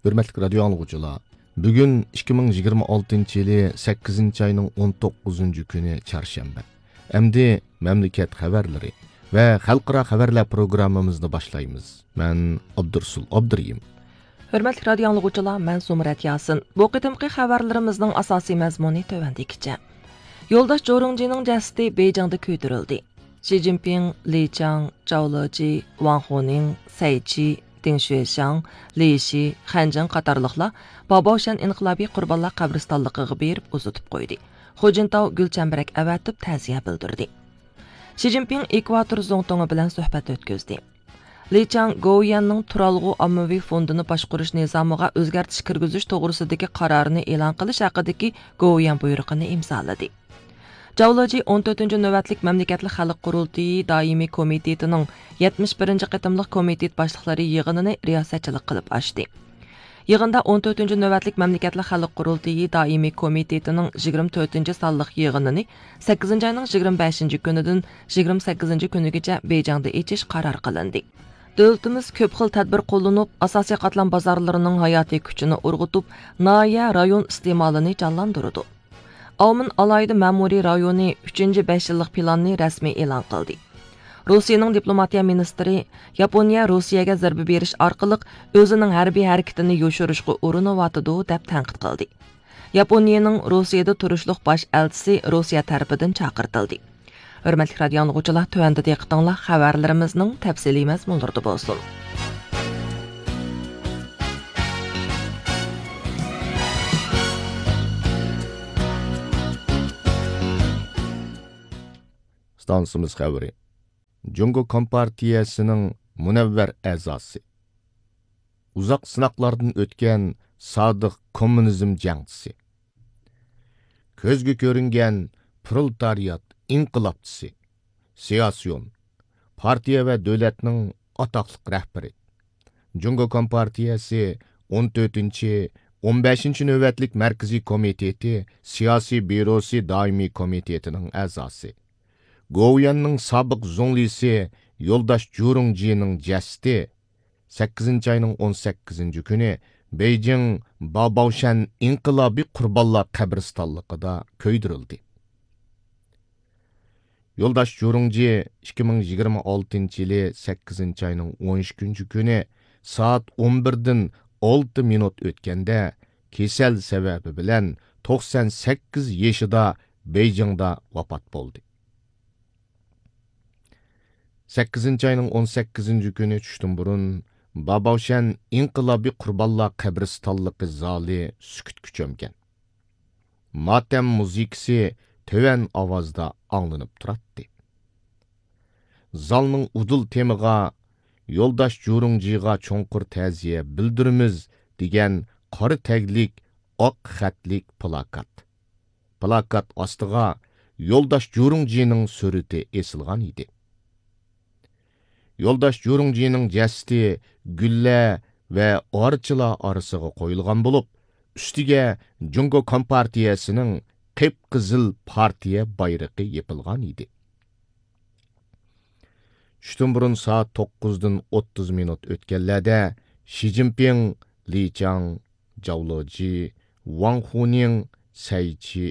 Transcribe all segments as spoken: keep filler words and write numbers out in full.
ھۆرمەتلىك رادىيو ئاڭلىغۇچىلار، بۈگۈن ئىككى مىڭ يىگىرمە ئالتىنچى يىلى سەككىزىنچى ئاينىڭ ئون توققۇزىنچى كۈنى، چارشەنبە. ئەمدى مەملىكەت خەۋەرلىرى ۋە خەلقئارا خەۋەرلەر پروگراممىمىزنى باشلايمىز. مەن ئابدۇرسۇل ئابدۇرېھىم. ھۆرمەتلىك رادىيو ئاڭلىغۇچىلار، مەن زۇمرەت ياسىن. بۇ قېتىمقى خەۋەرلىرىمىزنىڭ ئاساسىي مەزمۇنى تۆۋەندىكىچە. يولداش جورۇڭجىنىڭ جەسىتى بېيجىڭدا كۆيدۈرۈلدى. شى جىنپىڭ، لى چاڭ، جاۋ لېجى، ۋاڭ خۇنىڭ، سەي چى، دېڭ شۈەشياڭ، لى شى، خەنجىڭ قاتارلىقلار باباۋشەن ئىنقىلابىي قۇربانلار قەبرىستانلىقىغا بېرىپ ئۇزىتىپ قويدى. خۇجىنتاۋ گۈل چەمبىرەك ئەۋەتىپ تەزىيە بىلدۈردى. شى جىنپىڭ ئېكۋاتور زۇڭتۇڭى بىلەن سۆھبەت ئۆتكۈزدى. لى چاڭ گوۋۇيۈەننىڭ تۇرالغۇ ئاممىۋى فوندىنى باشقۇرۇش نىزامىغا ئۆزگەرتىش كىرگۈزۈش توغرىسىدىكى قارارنى ئېلان قىلىش ھەققىدىكى گوۋۇيۈەن بۇيرۇقىنى ئىمزالىدى. جاۋ لېجى ئون تۆتىنچى نۆۋەتلىك مەملىكەتلىك خەلق قۇرۇلتىيى دائىمىي كومىتېتىنىڭ يەتمىش بىرىنچى قېتىملىق كومىتېت باشلىقلىرى يىغىنىنى رىياسەتچىلىك قىلىپ ئاچتى. يىغىندا ئون تۆتىنچى نۆۋەتلىك مەملىكەتلىك خەلق قۇرۇلتىيى دائىمىي كومىتېتىنىڭ يىگىرمە تۆتىنچى سانلىق يىغىنىنى سەككىزىنچى ئاينىڭ يىگىرمە بەشىنچى كۈنىدىن يىگىرمە سەككىزىنچى كۈنىگىچە بېيجىڭدا ئېچىش قارار قىلىندى. دۆلىتىمىز كۆپ خىل تەدبىر قوللىنىپ، ئاساسىي قاتلام بازارلىرىنىڭ ھاياتىي كۈچىنى ئۇرغۇتۇپ، ناھىيە، رايون ئىستېمالىنى جانلاندۇرىدۇ. ئاۋمېن ئالاھىدە مەمۇرىي رايونى ئۈچىنچى بەش يىللىق پىلاننى رەسمىي ئېلان قىلدى. روسىيەنىڭ دىپلوماتىيە مىنىستىرى ياپونىيە روسىيەگە زەربە بېرىش ئارقىلىق ئۆزىنىڭ ھەربىي ھەرىكىتىنى يوشۇرۇشقا ئۇرۇنۇۋاتىدۇ، دەپ تەنقىد قىلدى. ياپونىيەنىڭ روسىيەدە تۇرۇشلۇق باش ئەلچىسى روسىيە تەرىپىدىن چاقىرتىلدى. ھۆرمەتلىك رادىيو ئاڭلىغۇچىلار، تۆۋەندە دىققىتىڭلار خەۋەرلىرىمىزنىڭ تەپسىلىي مەزمۇنلىرىدا بولسۇن. ئىستانسىمىز خەۋىرى. جۇڭگو كومپارتىيەسىنىڭ مۇنەۋۋەر ئەزاسى، ئۇزاق سىناقلاردىن ئۆتكەن سادىق كوممۇنىزم جەڭچىسى، كۆزگە كۆرۈنگەن پرولېتارىيات ئىنقىلابچىسى، سىياسىيون، پارتىيە ۋە دۆلەتنىڭ ئاتاقلىق رەھبىرى، جۇڭگو كومپارتىيەسى ئون تۆتىنچى، ئون بەشىنچى نۆۋەتلىك مەركىزىي كومىتېتى سىياسىي بيۇروسى دائىمىي كومىتېتىنىڭ ئەزاسى، گوۋۇيۈەننىڭ سابىق زۇڭلىسى يولداش جۇرۇڭجىنىڭ جەسىتى سەككىزىنچى ئاينىڭ ئون سەككىزىنچى كۈنى بېيجىڭ باباۋشەن ئىنقىلابىي قۇربانلار قەبرىستانلىقىدا كۆيدۈرۈلدى. يولداش جۇرۇڭجى ئىككى مىڭ يىگىرمە ئالتىنچى يىلى سەككىزىنچى ئاينىڭ ئون ئىككىنچى كۈنى سائەت ئون بىردىن ئالتە مىنۇت ئۆتكەندە، كېسەل سەۋەبى بىلەن توقسان سەككىز يېشىدا بېيجىڭدا ۋاپات بولدى. سەككىزىنچى ئاينىڭ ئون سەككىزىنچى كۈنى چۈشتىن بۇرۇن باباۋشەن ئىنقىلابىي قۇربانلار قەبرىستانلىقى زالى سۈكۈتكە چۆمگەن. ماتەم مۇزىكىسى تۆۋەن ئاۋازدا ئاڭلىنىپ تۇراتتى. زالنىڭ ئۇدۇل تېمىغا «يولداش جۇرۇڭجىغا چوڭقۇر تەزىيە بىلدۈرىمىز» دېگەن قارا تەگلىك ئاق خەتلىك پلاكات. پلاكات ئاستىغا يولداش جۇرۇڭجىنىڭ سۈرىتى ئېسىلغان ئىدى. يولداش جۇرۇڭجىنىڭ جەسىتى گۈللە ۋە ئارچىلار ئارىسىغا قويۇلغان بولۇپ، ئۈستىگە جۇڭگو كومپارتىيەسىنىڭ قىپقىزىل پارتىيە بايرىقى يېپىلغان ئىدى. چۈشتىن بۇرۇن سائەت توققۇزدىن ئوتتۇز مىنۇت ئۆتكەنلەردە شى جىنپىڭ، لى چاڭ، جاۋ لېجى، ۋاڭ خۇنىڭ، سەي چى،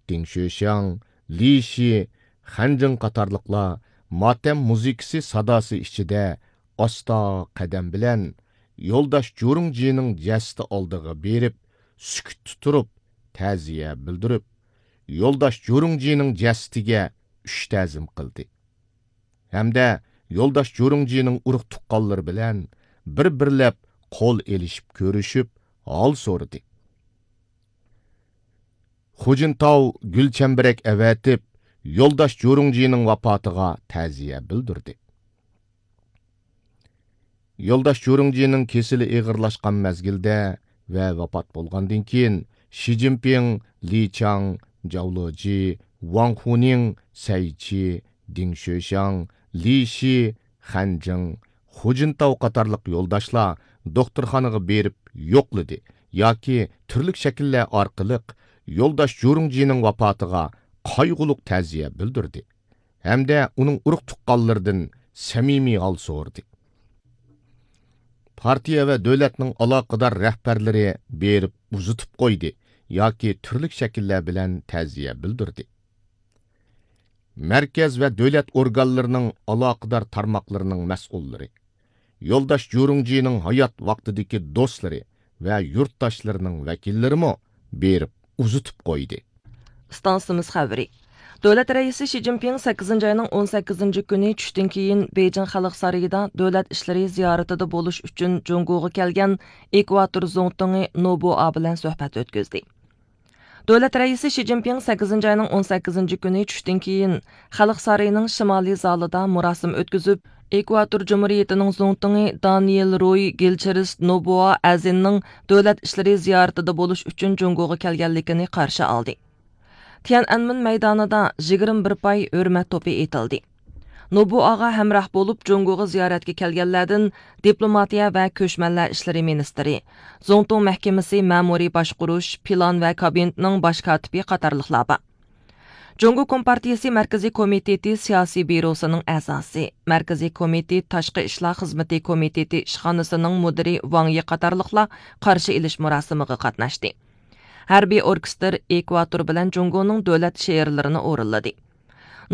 دىڭ شۆشياڭ، لى شى، خەنجىڭ قاتارلىقلار ماتەم مۇزىكىسى ساداسى ئىچىدە ئاستا قەدەم بىلەن يولداش جۇرۇڭجىنىڭ جەسىتى ئالدىغا بېرىپ، سۈكۈتتە تۇرۇپ، تەزىيە بىلدۈرۈپ، يولداش جۇرۇڭجىنىڭ جەسىتىگە ئۈچ تەزىم قىلدى. ھەمدە يولداش جۇرۇڭجىنىڭ ئۇرۇق تۇغقانلىرى بىلەن بىر-بىرلەپ قول ئېلىشىپ كۆرۈشۈپ، ھال سورىدى. خۇجىنتاۋ گۈل چەمبىرەك ئەۋەتىپ، يولداش جۇرۇڭجىنىڭ ۋاپاتىغا تەزىيە بىلدۈردى. يولداش جۇرۇڭجىنىڭ كېسىلى ئېغىرلاشقان مەزگىلدە ۋە ۋاپات بولغاندىن كېيىن، شى جىنپىڭ، لى چاڭ، جاۋ لېجى، ۋاڭ خۇنىڭ، سەي چى، دىڭ شۆشياڭ، لى شى، خەنجىڭ، خۇجىنتاۋ قاتارلىق يولداشلار دوختۇرخانىغا بېرىپ يوقلىدى ياكى تۈرلۈك شەكىللەر ئارقىلىق يولداش جۇرۇڭجىنىڭ ۋاپاتىغا قايغۇلۇق تەزىيە بىلدۈردى ھەمدە ئۇنىڭ ئۇرۇق تۇغقانلىرىدىن سەمىمىي ھال سورىدى. پارتىيە ۋە دۆلەتنىڭ ئالاقىدار رەھبەرلىرى بېرىپ ئۇزىتىپ قويدى ياكى تۈرلۈك شەكىللەر بىلەن تەزىيە بىلدۈردى. مەركەز ۋە دۆلەت ئورگانلىرىنىڭ ئالاقىدار تارماقلىرىنىڭ مەسئۇللىرى، يولداش جۇرۇڭجىنىڭ ھايات ۋاقتىدىكى دوستلىرى ۋە يۇرتداشلىرىنىڭ ۋەكىللىرىمۇ بېرىپ ئۇزىتىپ قويدى. ئىستانسىمىز خەۋىرى. دۆلەت رەئىسى شى جىنپىڭ سەككىزىنچى ئاينىڭ ئون سەككىزىنچى كۈنى چۈشتىن كېيىن بېيجىڭ خەلق سارىيىدا دۆلەت ئىشلىرى زىيارىتىدە بولۇش ئۈچۈن جۇڭگوغا كەلگەن ئېكۋاتور زۇڭتۇڭى نوبۇئا بىلەن سۆھبەت ئۆتكۈزدى. دۆلەت رەئىسى شى جىنپىڭ سەككىزىنچى ئاينىڭ ئون سەككىزىنچى كۈنى چۈشتىن كېيىن خەلق سارىيىنىڭ شىمالىي زالىدا مۇراسىم ئۆتكۈزۈپ، ئېكۋاتور جۇمھۇرىيىتىنىڭ زۇڭتۇڭى دانىيېل روي گىلچېرىست نوبۇئا ئەزىننىڭ دۆلەت ئىشلىرى زىيارىتىدە بولۇش ئۈچۈن جۇڭگوغا كەلگەنلىكىنى قارشى ئالدى. تيەنئەنمېن مەيدانىدا يىگىرمە بىر پاي ھۆرمەت توپى ئېتىلدى. نوبۇئاغا ھەمراھ بولۇپ جۇڭگوغا زىيارەتكە كەلگەنلەردىن دىپلوماتىيە ۋە كۆچمەنلەر ئىشلىرى مىنىستىرى، زۇڭتۇڭ مەھكىمىسى مەمۇرىي باشقۇرۇش، پىلان ۋە كابىنېتنىڭ باش كاتىپى قاتارلىقلار بار. جۇڭگو كومپارتىيىسى مەركىزىي كومىتېتى سىياسىي بيۇروسىنىڭ ئەزاسى، مەركىزىي كومىتېت تاشقى ئىشلار خىزمىتى كومىتېتى ئىشخانىسىنىڭ مۇدىرى ۋاڭ يى قاتارلىقلار قارشى ئېلىش مۇراسىمىغا قاتناشتى. ھەربىي ئوركېستىر ئېكۋاتور بىلەن جۇڭگونىڭ دۆلەت شېئىرلىرىنى ئورۇنلىدى.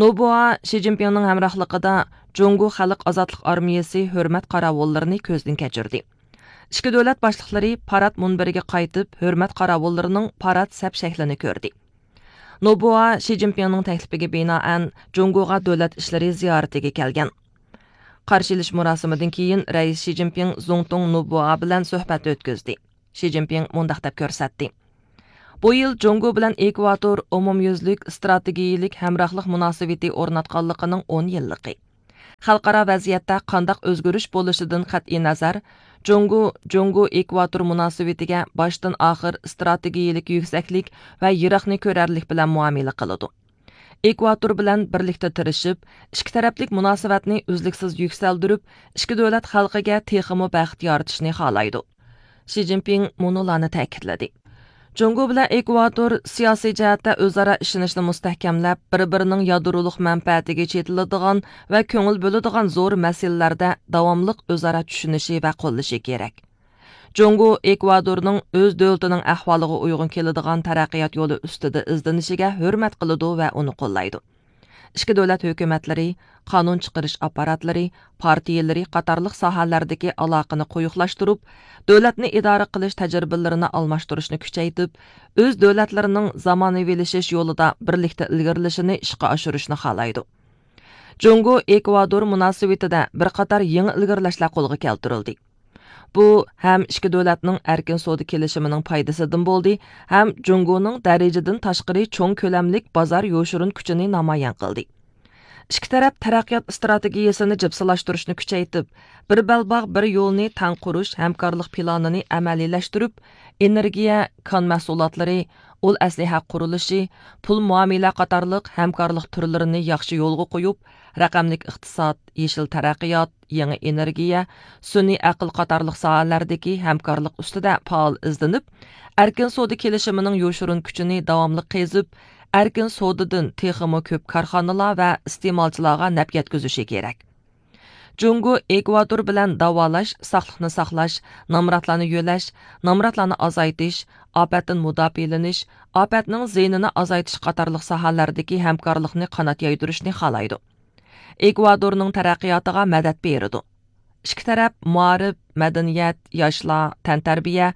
نوبۇئا شى جىنپىڭنىڭ ھەمراھلىقىدا جۇڭگو خەلق ئازادلىق ئارمىيىسى ھۆرمەت قاراۋۇللىرىنى كۆزدىن كەچۈردى. ئىككى دۆلەت باشلىقلىرى پارات مۇنبىرىگە قايتىپ، ھۆرمەت قاراۋۇللىرىنىڭ پارات سەپ شەكلىنى كۆردى. نوبۇئا شى جىنپىڭنىڭ تەكلىپىگە بىنائەن جۇڭگوغا دۆلەت ئىشلىرى زىيارىتىگە كەلگەن. قارشى ئېلىش مۇراسىمىدىن كېيىن رەئىس شى جىنپىڭ زۇڭتۇڭ نوبۇئا بىلەن سۆھبەت ئۆتكۈزدى. شى جىنپىڭ مۇنداق دەپ كۆرسەتتى: بۇ يىل جۇڭگو بىلەن ئېكۋاتور ئومۇميۈزلۈك ئىستراتېگىيىلىك ھەمراھلىق مۇناسىۋىتى ئورناتقانلىقىنىڭ ئون يىللىقى. خەلقئارا ۋەزىيەتتە قانداق ئۆزگىرىش بولۇشىدىن قەتئىينەزەر، جۇڭگو، جۇڭگو ئېكۋاتور مۇناسىۋىتىگە باشتىن ئاخىر ئىستراتېگىيىلىك يۈكسەكلىك ۋە يىراقنى كۆرەرلىك بىلەن مۇئامىلە قىلىدۇ. ئېكۋاتور بىلەن بىرلىكتە تىرىشىپ، ئىككى تەرەپلىك مۇناسىۋەتنى ئۈزلۈكسىز يۈكسەلدۈرۈپ، ئىككى دۆلەت خەلقىگە تېخىمۇ بەخت يارىتىشنى خالايدۇ. شى جىنپىڭ مۇنۇلارنى تەكىتلىدى: جۇڭگو بىلەن ئېكۋاتور سىياسىي جەھەتتە ئۆزئارا ئىشىنىشنى مۇستەھكەملەپ، بىر-بىرىنىڭ يادرولۇق مەنپەئەتىگە چېتىلىدىغان ۋە كۆڭۈل بۆلىدىغان زور مەسىلىلەردە داۋاملىق ئۆزئارا چۈشىنىشى ۋە قوللىشى كېرەك. جۇڭگو ئېكۋادورنىڭ ئۆز دۆلىتىنىڭ ئەھۋالىغا ئۇيغۇن كېلىدىغان تەرەققىيات يولى ئۈستىدە ئىزدىنىشىگە ھۆرمەت قىلىدۇ ۋە ئۇنى قوللايدۇ. ئىككى دۆلەت ھۆكۈمەتلىرى، قانۇن چىقىرىش ئاپپاراتلىرى، پارتىيىلىرى قاتارلىق ساھەلەردىكى ئالاقىنى قويۇقلاشتۇرۇپ، دۆلەتنى ئىدارە قىلىش تەجرىبىلىرىنى ئالماشتۇرۇشنى كۈچەيتىپ، ئۆز دۆلەتلىرىنىڭ زامانىۋىلىشىش يولىدا بىرلىكتە ئىلگىرىلىشىنى ئىشقا ئاشۇرۇشنى خالايدۇ. جۇڭگو ئېكۋادور مۇناسىۋىتىدە بىر قاتار يېڭى ئىلگىرىلەشلەر قولغا كەلتۈرۈلدى. بۇ ھەم ئىككى دۆلەتنىڭ ئەركىن سودا كېلىشىمىنىڭ پايدىسىدىن بولدى، ھەم جۇڭگونىڭ دەرىجىدىن تاشقىرى چوڭ كۆلەملىك بازار يوشۇرۇن كۈچىنى نامايان قىلدى. ئىككى تەرەپ تەرەققىيات ئىستراتېگىيىسىنى جىپسىلاشتۇرۇشنى كۈچەيتىپ، بىر بەلباغ، بىر يولنى تەڭ قۇرۇش ھەمكارلىق پىلانىنى ئەمەلىيلەشتۈرۈپ، ئېنېرگىيە، كان مەھسۇلاتلىرى، ئۇل ئەسلىھە قۇرۇلۇشى، پۇل مۇئامىلە قاتارلىق ھەمكارلىق تۈرلىرىنى ياخشى يولغا قويۇپ، رەقەملىك ئىقتىساد، يېشىل تەرەققىيات، يېڭى ئېنېرگىيە، سۈنئىي ئەقىل قاتارلىق ساھەلەردىكى ھەمكارلىق ئۈستىدە پائال ئىزدىنىپ، ئەركىن سودا كېلىشىمىنىڭ يوشۇرۇن كۈچىنى داۋاملىق قېزىپ، ئەركىن سودىدىن تېخىمۇ كۆپ كارخانىلار ۋە ئىستېمالچىلارغا نەپ يەتكۈزۈشى كېرەك. جۇڭگو ئېكۋادور بىلەن داۋالاش، ساقلىقنى ساقلاش، نامراتلارنى يۆلەش، نامراتلارنى ئازايتىش، ئاپەتتىن مۇداپىئەلىنىش، ئاپەتنىڭ زىيىنىنى ئازايتىش قاتارلىق ساھەلەردىكى ھەمكارلىقنى قانات يايدۇرۇشنى خالايدۇ. ئېكۋادورنىڭ تەرەققىياتىغا مەدەت بېرىدۇ. ئىككى تەرەپ مائارىپ، مەدەنىيەت، ياشلار، تەنتەربىيە،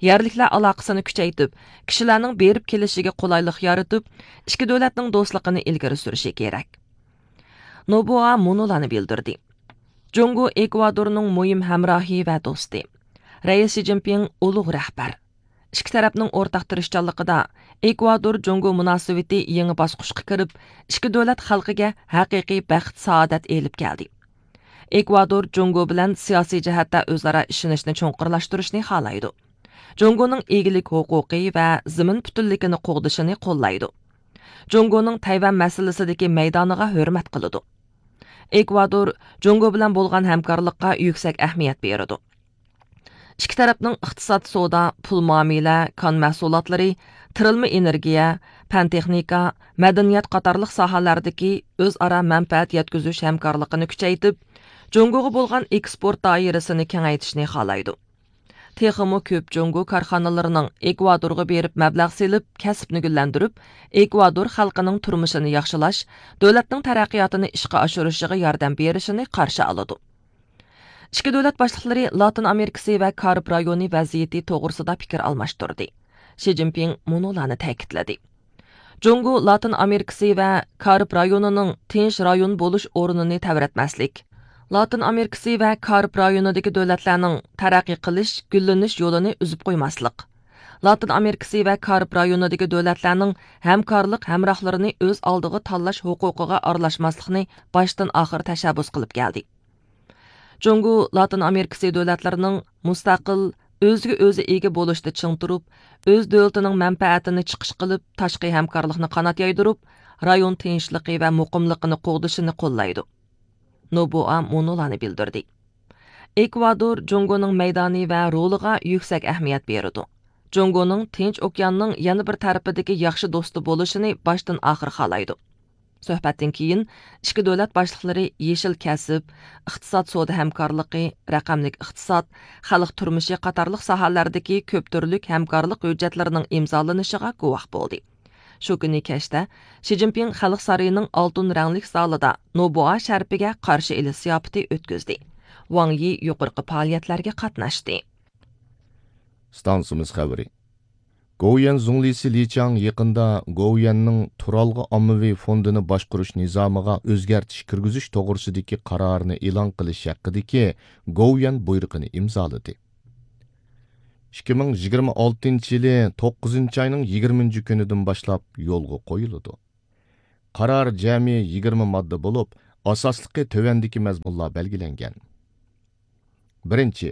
يەرلىكلەر ئالاقىسىنى كۈچەيتىپ، كىشىلەرنىڭ بېرىپ كېلىشىگە قولايلىق يارىتىپ، ئىككى دۆلەتنىڭ دوستلۇقىنى ئىلگىرى سۈرۈشى كېرەك. نوبۇئا مۇنۇلارنى بىلدۈردى: جۇڭگو ئېكۋادورنىڭ مۇھىم ھەمراھى ۋە دوستى. رەئىس شى جىنپىڭ ئۇلۇغ رەھبەر. ئىككى تەرەپنىڭ ئورتاق تىرىشچانلىقىدا ئېكۋادور جۇڭگو مۇناسىۋىتى يېڭى باسقۇچقا كىرىپ، ئىككى دۆلەت خەلقىگە ھەقىقىي بەخت، سائادەت ئېلىپ كەلدى. ئېكۋادور جۇڭگو بىلەن سىياسىي جەھەتتە ئۆزئارا ئىشىنىشنى چوڭقۇرلاشتۇرۇشنى خالايدۇ. جۇڭگونىڭ ئىگىلىك ھوقۇقى ۋە زېمىن پۈتۈنلۈكىنى قوغدىشىنى قوللايدۇ. جۇڭگونىڭ تەيۋەن مەسىلىسىدىكى مەيدانىغا ھۆرمەت قىلىدۇ. ئېكۋادور جۇڭگو بىلەن بولغان ھەمكارلىققا يۈكسەك ئەھمىيەت بېرىدۇ. ئىككى تەرەپنىڭ ئىقتىساد، سودا، پۇل مۇئامىلە، كان مەھسۇلاتلىرى، تىرىلما ئېنېرگىيە، پەن تېخنىكا، مەدەنىيەت قاتارلىق ساھەلەردىكى ئۆزئارا مەنپەئەت يەتكۈزۈش ھەمكارلىقىنى كۈچەيتىپ، جۇڭگوغا بولغان ئېكسپورت دائىرىسىنى كېڭەيتىشنى خالايدۇ. تېخىمۇ كۆپ جۇڭگو كارخانىلىرىنىڭ ئېكۋادورغا بېرىپ مەبلەغ سېلىپ، كەسىپنى گۈللەندۈرۈپ، ئېكۋادور خەلقىنىڭ تۇرمۇشىنى ياخشىلاش، دۆلەتنىڭ تەرەققىياتىنى ئىشقا ئاشۇرۇشىغا ياردەم بېرىشىنى قارشى ئالىدۇ. ئىككى دۆلەت باشلىقلىرى لاتىن ئامېرىكىسى ۋە كارىب رايونى ۋەزىيىتى توغرىسىدا پىكىر ئالماشتۇردى. شى جىنپىڭ مۇنۇلارنى تەكىتلىدى. جۇڭگو لاتىن ئامېرىكىسى ۋە كارىب رايونىنىڭ تىنچ رايون بولۇش ئورنىنى تەۋرەتمەسلىك، لاتىن ئامېرىكىسى ۋە كارىب رايونىدىكى دۆلەتلەرنىڭ تەرەققىي قىلىش، گۈللىنىش يولىنى ئۈزۈپ قويماسلىق، لاتىن ئامېرىكىسى ۋە كارىب رايونىدىكى دۆلەتلەرنىڭ ھەمكارلىق ھەمراھلىرىنى ئۆز ئالدىغا تاللاش ھوقۇقىغا ئارىلاشماسلىقنى باشتىن ئاخىر تەشەببۇس قىلىپ كەلدى. جۇڭگو لاتىن ئامېرىكىسى دۆلەتلىرىنىڭ مۇستەقىل، ئۆزىگە ئۆزى ئىگە بولۇشتا چىڭ تۇرۇپ، ئۆز دۆلىتىنىڭ مەنپەئەتىنى چىقىش قىلىپ، تاشقى ھەمكارلىقنى قانات يايدۇرۇپ، رايون تىنچلىقى ۋە مۇقىملىقىنى قوغدىشىنى قوللايدۇ. نوبۇئا مۇنۇلارنى بىلدۈردى. ئېكۋادور جۇڭگونىڭ مەيدانى ۋە رولىغا يۈكسەك ئەھمىيەت بېرىدۇ. جۇڭگونىڭ تىنچ ئوكياننىڭ يەنە بىر تەرىپىدىكى ياخشى دوستى بولۇشىنى باشتىن ئاخىر خالايدۇ. سۆھبەتتىن كېيىن ئىككى دۆلەت باشلىقلىرى يېشىل كەسىپ، ئىقتىساد سودا ھەمكارلىقى، رەقەملىك ئىقتىساد، خەلق تۇرمۇشى قاتارلىق ساھەلەردىكى كۆپ تۈرلۈك ھەمكارلىق ھۆججەتلىرىنىڭ ئىمزالىنىشىغا گۇۋاھ بولدى. شۇ كۈنى كەچتە شى جىنپىڭ خەلق سارىيىنىڭ ئالتۇن رەڭلىك زالىدا نوبۇئا شەرىپىگە قارشى ئېلىش زىياپىتى ئۆتكۈزدى. ۋاڭ يى يۇقىرىقى پائالىيەتلەرگە قاتناشتى. ئىستانسىمىز خەۋىرى. گوۋۇيۈەن زۇڭلىسى لى چاڭ يېقىندا گوۋۇيۈەننىڭ تۇرالغۇ ئاممىۋى فوندىنى باشقۇرۇش نىزامىغا ئۆزگەرتىش كىرگۈزۈش توغرىسىدىكى قارارنى ئېلان قىلىش ھەققىدىكى گوۋۇيۈەن بۇيرۇقىنى ئىمزالىدى. ئىككى مىڭ يىگىرمە ئالتىنچى يىلى توققۇزىنچى ئاينىڭ يىگىرمىنچى كۈنىدىن باشلاپ يولغا قويۇلىدۇ. قارار جەمئىي يىگىرمە ماددا بولۇپ، ئاساسلىقى تۆۋەندىكى مەزمۇنلار بەلگىلەنگەن. بىرىنچى،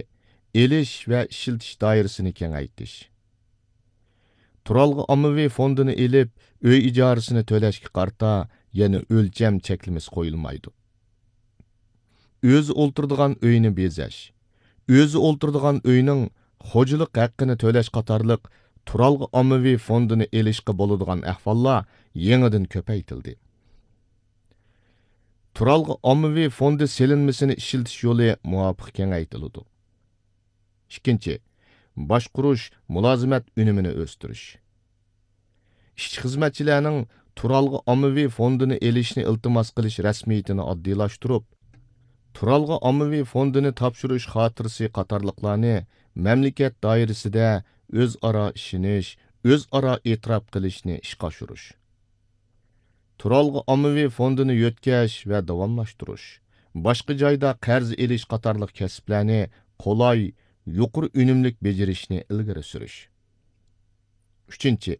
ئېلىش ۋە ئىشلىتىش دائىرىسىنى كېڭەيتىش. تۇرالغۇ ئاممىۋى فوندىنى ئېلىپ، ئۆي ئىجارىسىنى تۆلەشكە قارىتا يەنە ئۆلچەم چەكلىمىسى قويۇلمايدۇ. ئۆزى ئولتۇرىدىغان ئۆينى بېزەش، ئۆزى ئولتۇرىدىغان ئۆينىڭ خوجىلىق ھەققىنى تۆلەش قاتارلىق تۇرالغۇ ئاممىۋى فوندىنى ئېلىشقا بولىدىغان ئەھۋاللار يېڭىدىن كۆپەيتىلدى. تۇرالغۇ ئاممىۋى فوندى سېلىنمىسىنى ئىشلىتىش يولى مۇۋاپىق كېڭەيتىلىدۇ. ئىككىنچى، باشقۇرۇش مۇلازىمەت ئۈنۈمىنى ئۆستۈرۈش. ئىشچى-خىزمەتچىلەرنىڭ تۇرالغۇ ئاممىۋى فوندىنى ئېلىشنى ئىلتىماس قىلىش رەسمىيىتىنى ئاددىيلاشتۇرۇپ، تۇرالغۇ ئاممىۋى فوندىنى تاپشۇرۇش خاتىرىسى قاتارلىقلارنى مەملىكەت دائىرىسىدە ئۆزئارا ئىشىنىش، ئۆزئارا ئېتىراپ قىلىشنى ئىشقا ئاشۇرۇش. تۇرالغۇ ئاممىۋى فوندىنى يۆتكەش ۋە داۋاملاشتۇرۇش، باشقا جايدا قەرز ئېلىش قاتارلىق كەسىپلەرنى قولاي، يۇقىرى ئۈنۈملۈك بېجىرىشنى ئىلگىرى سۈرۈش. ئۈچىنچى،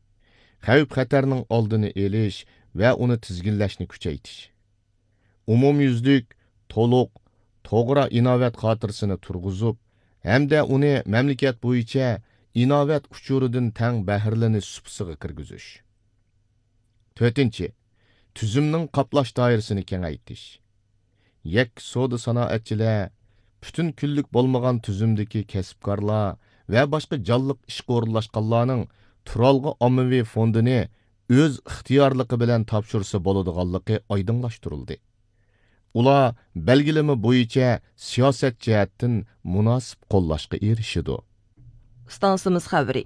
خەۋپ-خەتەرنىڭ ئالدىنى ئېلىش ۋە ئۇنى تىزگىنلەشنى كۈچەيتىش. ئومۇميۈزلۈك، تولۇق، توغرا ئىناۋەت خاتىرىسىنى تۇرغۇزۇپ ھەمدە ئۇنى مەملىكەت بويىچە ئىناۋەت ئۇچۇرىدىن تەڭ بەھرىلىنىش سۇپىسىغا كىرگۈزۈش. تۆتىنچى، تۈزۈمنىڭ قاپلاش دائىرىسىنى كېڭەيتىش. يەككە سودا سانائەتچىلەر، پۈتۈن كۈنلۈك بولمىغان تۈزۈمدىكى كەسىپكارلار ۋە باشقا جانلىق ئىشقا ئورۇنلاشقانلارنىڭ تۇرالغۇ ئاممىۋى فوندىنى ئۆز ئىختىيارلىقى بىلەن تاپشۇرسا بولىدىغانلىقى ئايدىڭلاشتۇرۇلدى. ئۇلار بەلگىلىمە بويىچە سىياسەت جەھەتتىن مۇناسىپ قوللاشقا ئېرىشىدۇ. ئىستانسىمىز خەۋىرى.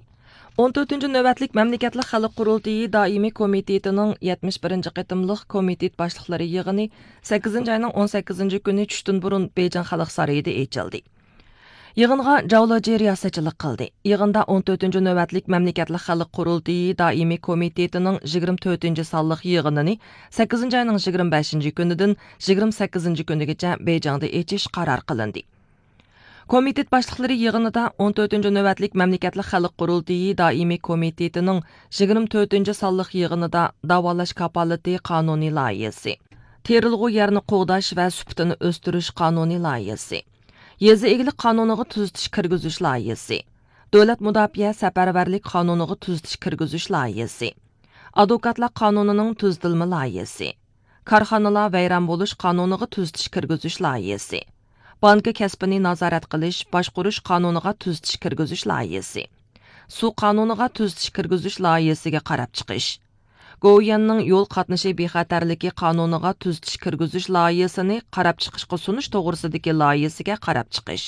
ئون تۆتىنچى نۆۋەتلىك مەملىكەتلىك خەلق قۇرۇلتىيى دائىمىي كومىتېتىنىڭ يەتمىش بىرىنچى قېتىملىق كومىتېت باشلىقلىرى يىغىنى سەككىزىنچى ئاينىڭ ئون سەككىزىنچى كۈنى چۈشتىن بۇرۇن بېيجىڭ خەلق سارىيىدا ئېچىلدى. يىغىنغا جاۋ لېجى رىياسەتچىلىك قىلدى. يىغىندا ئون تۆتىنچى نۆۋەتلىك مەملىكەتلىك خەلق قۇرۇلتىيى دائىمىي كومىتېتىنىڭ يىگىرمە تۆتىنچى سانلىق يىغىنىنى سەككىزىنچى ئاينىڭ يىگىرمە بەشىنچى كۈنىدىن يىگىرمە سەككىزىنچى كۈنىگىچە بېيجىڭدا ئېچىش قارار قىلىندى. كومىتېت باشلىقلىرى يىغىنىدا ئون تۆتىنچى نۆۋەتلىك مەملىكەتلىك خەلق قۇرۇلتىيى دائىمىي كومىتېتىنىڭ يىگىرمە تۆتىنچى سانلىق يىغىنىدا داۋالاش كاپالىتى قانۇنىي لايىھىسى، تېرىلغۇ يەرنى قوغداش ۋە سۈپىتىنى ئۆستۈرۈش قانۇنىي لايىھىسى، يېزا ئىگىلىك قانۇنىغا تۈزىتىش كىرگۈزۈش لايىھىسى، دۆلەت مۇداپىئە سەپەرۋەرلىك قانۇنىغا تۈزىتىش كىرگۈزۈش لايىھىسى، ئادۋوكاتلار قانۇنىنىڭ تۈزىتىلمە لايىھىسى، كارخانىلار ۋەيران بولۇش قانۇنىغا تۈزىتىش كىرگۈزۈش لايىھىسى، بانكا كەسپىنى نازارەت قىلىش، باشقۇرۇش قانۇنىغا تۈزىتىش كىرگۈزۈش لايىھىسى، سۇ قانۇنىغا تۈزىتىش كىرگۈزۈش لايىھىسىگە قاراپ چىقىش، گوۋۇيۈەننىڭ يول قاتنىشى بىخەتەرلىكى قانۇنىغا تۈزىتىش كىرگۈزۈش لايىھىسىنى قاراپ چىقىشقا سۇنۇش توغرىسىدىكى لايىھىسىگە قاراپ چىقىش.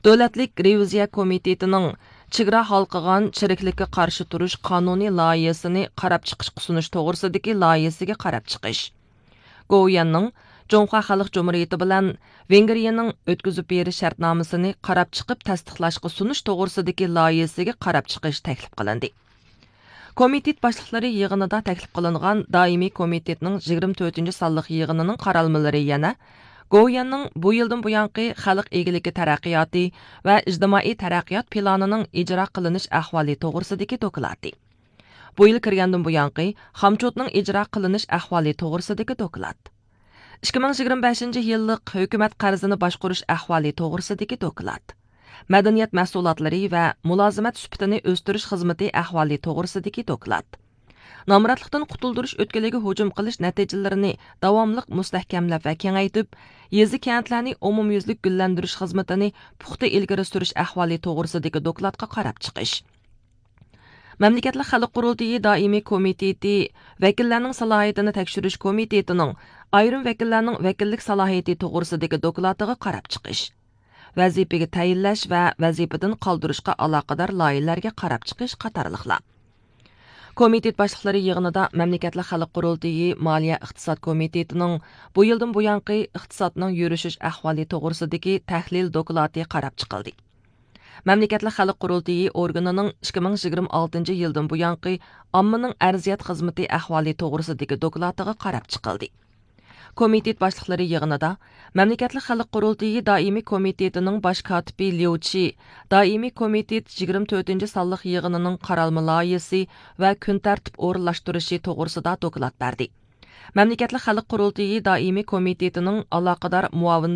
دۆلەتلىك رېۋىزىيە كومىتېتىنىڭ چېگرا ھالقىغان چىرىكلىككە قارشى تۇرۇش قانۇنى لايىھىسىنى قاراپ چىقىشقا سۇنۇش توغرىسىدىكى لايىھىسىگە قاراپ چىقىش. گوۋۇيۈەننىڭ جۇڭخۇا خەلق جۇمھۇرىيىتى بىلەن ۋېنگرىيىنىڭ ئۆتكۈزۈپ بېرىش شەرتنامىسىنى قاراپ چىقىپ تەستىقلاشقا سۇنۇش توغرىسىدىكى لايىھىسىگە قاراپ چىقىش تەكلىپ قىلىندى. كومىتېت باشلىقلىرى يىغىنىدا تەكلىپ قىلىنغان دائىمىي كومىتېتنىڭ يىگىرمە تۆتىنچى سانلىق يىغىنىنىڭ قارالمىلىرى يەنە گوۋۇيۈەننىڭ بۇ يىلدىن بۇيانقى خەلق ئىگىلىكى تەرەققىياتى ۋە ئىجتىمائىي تەرەققىيات پىلانىنىڭ ئىجرا قىلىنىش ئەھۋالى توغرىسىدىكى دوكلاتى، بۇ يىل كىرگەندىن بۇيانقى خامچوتنىڭ ئىجرا قىلىنىش ئەھۋالى توغرىسىدىكى دوكلات، ئىككى مىڭ يىگىرمە بەشىنچى يىللىق ھۆكۈمەت قەرزىنى باشقۇرۇش ئەھۋالى توغرىسىدىكى دوكلات، مەدەنىيەت مەھسۇلاتلىرى ۋە مۇلازىمەت سۈپىتىنى ئۆستۈرۈش خىزمىتى ئەھۋالى توغرىسىدىكى دوكلات، نامراتلىقتىن قۇتۇلدۇرۇش ئۆتكىلىگە ھۇجۇم قىلىش نەتىجىلىرىنى داۋاملىق مۇستەھكەملەپ ۋە كېڭەيتىپ، يېزا، كەنتلەرنى ئومۇميۈزلۈك گۈللەندۈرۈش خىزمىتىنى پۇختا ئىلگىرى سۈرۈش ئەھۋالى توغرىسىدىكى دوكلاتقا قاراپ چىقىش. مەملىكەتلىك خەلق قۇرۇلتىيى دائىمىي كومىتېتى ۋەكىللەرنىڭ سالاھىيىتىنى تەكشۈرۈش كومىتېتىنىڭ ئايرىم ۋەكىللەرنىڭ ۋەكىللىك سالاھىيىتى توغرىسىدىكى دوكلاتىغا قاراپ چىقىش، ۋەزىپىگە تەيىنلەش ۋە ۋەزىپىدىن قالدۇرۇشقا ئالاقىدار لايىھىلەرگە قاراپ چىقىش قاتارلىقلار. كومىتېت باشلىقلىرى يىغىنىدا مەملىكەتلىك خەلق قۇرۇلتىيى مالىيە ئىقتىساد كومىتېتىنىڭ بۇ يىلدىن بۇيانقى ئىقتىسادنىڭ يۈرۈشۈش ئەھۋالى توغرىسىدىكى تەھلىل دوكلاتى قاراپ چىقىلدى. مەملىكەتلىك خەلق قۇرۇلتىيى ئورگىنىنىڭ ئىككى مىڭ يىگىرمە ئالتىنچى يىلدىن بۇيانقى ئاممىنىڭ ئەرزىيەت خىزمىتى ئەھۋالى توغرىسىدىكى دوكلاتىغا قاراپ چىقىلدى. كومىتېت باشلىقلىرى يىغىنىدا مەملىكەتلىك خەلق قۇرۇلتىيى دائىمىي كومىتېتىنىڭ باش كاتىپى ليۇ چى دائىمىي كومىتېت يىگىرمە تۆتىنچى سانلىق يىغىنىنىڭ قارالما لايىھىسى ۋە كۈن تەرتىپ ئورۇنلاشتۇرۇشى توغرىسىدا دوكلات بەردى. مەملىكەتلىك خەلق قۇرۇلتىيى دائىمىي كومىتېتىنىڭ ئالاقىدار مۇئاۋىن